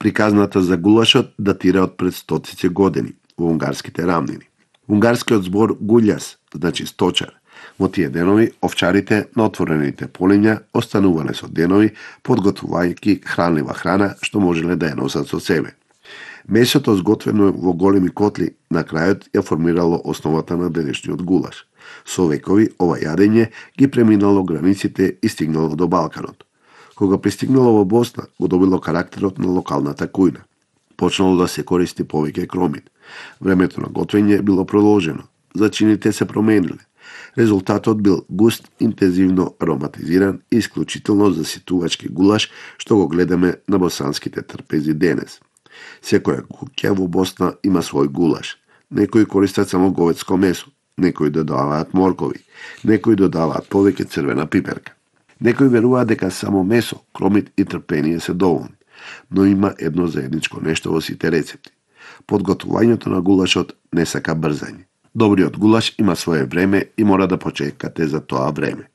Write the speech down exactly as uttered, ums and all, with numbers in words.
Приказната за гулашот датира од пред стотици години во унгарските рамнини. Унгарскиот збор гуљас значи сточар. Во тие денови овчарите на отворените полиња останувале со денови подготвувајќи хранлива храна што можеле да ја носат со себе. Месото зготвено во големи котли на крајот ја формирало основата на денешниот гулаш. Со векови ова јадење ги преминало границите и стигнало до Балканот. Кога пристигнало во Босна, го добило карактерот на локалната кујна. Почнало да се користи повеќе кромит. Времето на готвење било продолжено. Зачините се промениле. Резултатот бил густ, интензивно ароматизиран и исклучително заситувачки гулаш што го гледаме на босанските трпези денес. Секоја куќа во Босна има свој гулаш. Некои користат само говедско месо, некои додаваат моркови, некои додаваат повеќе црвена пиперка. Некои веруваат дека само месо, кромит и трпение се доволни, но има едно заедничко нешто во сите рецепти. Подготвувањето на гулашот не сака брзање. Добриот гулаш има свое време и мора да почекате за тоа време.